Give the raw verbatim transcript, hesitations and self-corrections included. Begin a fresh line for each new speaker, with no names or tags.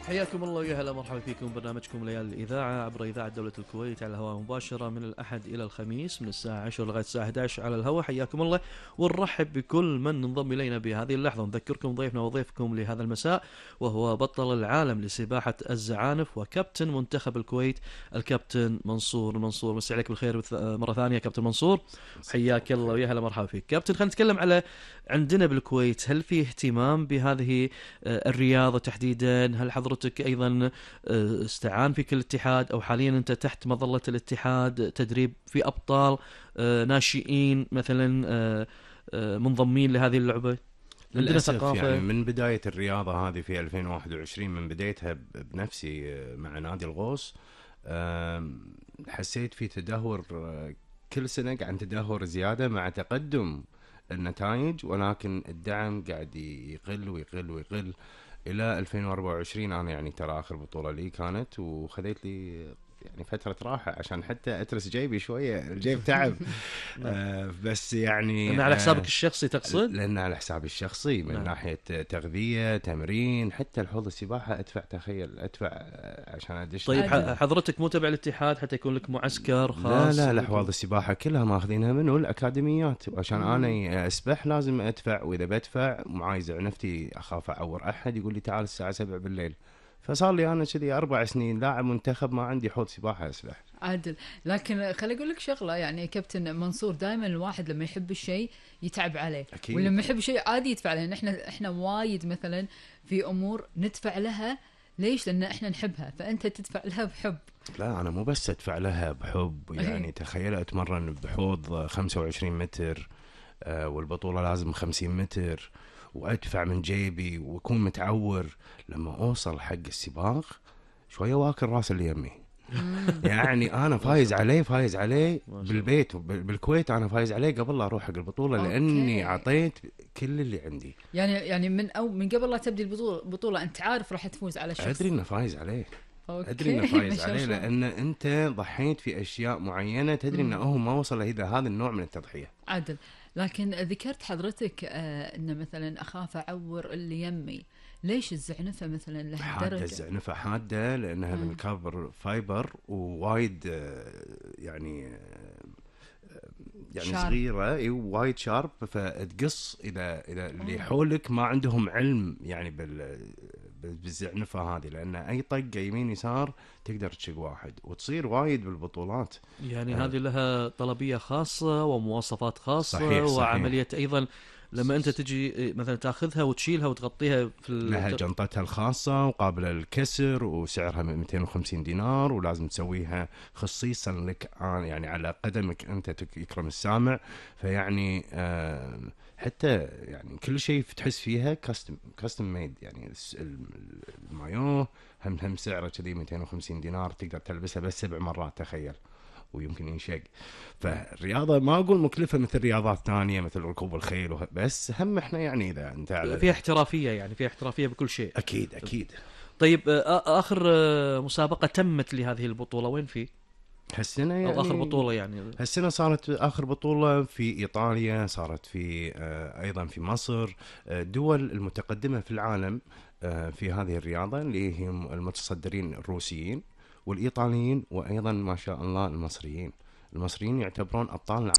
حياكم الله ويا هلا مرحبا فيكم برنامجكم ليالي الإذاعة عبر إذاعة دولة الكويت على الهواء مباشرة من الأحد إلى الخميس من الساعة عشرة لغاية الساعة إحدى عشر على الهواء. حياكم الله ونرحب بكل من انضم إلينا بهذه اللحظة. نذكركم ضيفنا وضيفكم لهذا المساء وهو بطل العالم لسباحة الزعانف وكابتن منتخب الكويت الكابتن منصور المنصور. مسي عليك بالخير مرة ثانية كابتن منصور. حياك الله ويا هلا مرحبا فيك كابتن. خلينا نتكلم على عندنا بالكويت، هل في اهتمام بهذه الرياضة تحديدا؟ هل حضرتك أيضا استعان فيك الاتحاد أو حاليا أنت تحت مظلة الاتحاد تدريب في أبطال ناشئين مثلا منضمين لهذه اللعبة؟
للأسف يعني من بداية الرياضة هذه في ألفين وواحد وعشرين، من بدايتها بنفسي مع نادي الغوص، حسيت في تدهور كل سنة، عن تدهور زيادة مع تقدم النتائج، ولكن الدعم قاعد يقل ويقل ويقل إلى ألفين وأربعة وعشرين. أنا يعني ترى آخر بطولة لي كانت وخذيت لي يعني فترة راحة عشان حتى أترس جيبي شوية، الجيب تعب. آه بس يعني
لأن على حسابك الشخصي تقصد؟
لأن على حسابي الشخصي من نعم. ناحية تغذية تمرين، حتى الحوض السباحة أدفع، تخيل أدفع عشان أدش.
طيب حضرتك مو تبع الاتحاد حتى يكون لك معسكر خاص؟
لا لا الحوض السباحة كلها ماخذينها منه الأكاديميات، وعشان مم. أنا أسبح لازم أدفع، وإذا بدفع معايز عنفتي أخاف أعور أحد يقول لي تعال الساعة سبعة بالليل. فصار لي أنا كذي أربع سنين لاعب منتخب ما عندي حوض سباحة أسبح.
عادل، لكن خلي أقول لك شغلة، يعني كابتن منصور دائما الواحد لما يحب الشيء يتعب عليه،
أكيد.
ولما يحب شيء عادي يدفع عليه. إحنا إحنا وايد مثلا في أمور ندفع لها، ليش؟ لأن إحنا نحبها، فأنت تدفع لها بحب.
لا أنا مو بس أدفع لها بحب، يعني تخيل أتمرن بحوض خمسة وعشرين متر، آه والبطولة لازم خمسين متر، وأدفع من جيبي وأكون متعور. لما أوصل حق السباق شوية واكل راس اللي يمي. يعني أنا فايز عليه فايز عليه بالبيت بالكويت، أنا فايز عليه قبل لا أروح حق البطولة، لأني عطيت كل اللي عندي.
يعني يعني من أو من قبل لا تبدي البطولة بطولة أنت عارف راح تفوز على الشخص.
أدري إنه فايز عليه.
أوكي.
أدري إنه فايز عليه لأن أنت ضحيت في أشياء معينة، تدري إنه هو ما وصل إلى هذا النوع من التضحية.
عدل، لكن ذكرت حضرتك آه إن مثلا أخاف أعور اللي يمي، ليش الزعنفة مثلا لها
حادة؟
درجة
الزعنفة حادة لأنها من الكاربر فايبر، ووايد يعني يعني شارب. صغيرة وايد شارب، فتقص إذا إذا اللي حولك ما عندهم علم يعني بال بالزعنفة هذه، لأن أي طقة يمين يسار تقدر تشق واحد، وتصير وايد بالبطولات.
يعني آه. هذه لها طلبية خاصة ومواصفات خاصة.
صحيح
وعملية
صحيح.
أيضا لما أنت تجي مثلا تأخذها وتشيلها وتغطيها في
لها جنطتها الخاصة وقابلة للكسر، وسعرها مئتين وخمسين دينار، ولازم تسويها خصيصا لك يعني على قدمك أنت يكرم السامع. فيعني آه حتى يعني كل شيء تحس فيها كاستم كاستم ميد، يعني المايو هم هم سعره كذي مئتين وخمسين دينار، تقدر تلبسها بس سبع مرات تخيل، ويمكن ينشق. فالرياضة ما أقول مكلفة مثل رياضات تانية مثل ركوب الخيل، بس هم إحنا يعني إذا أنت
فيها احترافية، يعني فيها احترافية بكل شيء.
أكيد أكيد.
طيب آخر مسابقة تمت لهذه البطولة وين في؟
هالسنة يعني
أو آخر بطولة يعني
هالسنة صارت آخر بطولة في إيطاليا، صارت في أيضا في مصر. دول المتقدمة في العالم في هذه الرياضة اللي هم المتصدرين الروسيين والإيطاليين، وأيضا ما شاء الله المصريين. المصريين يعتبرون أبطال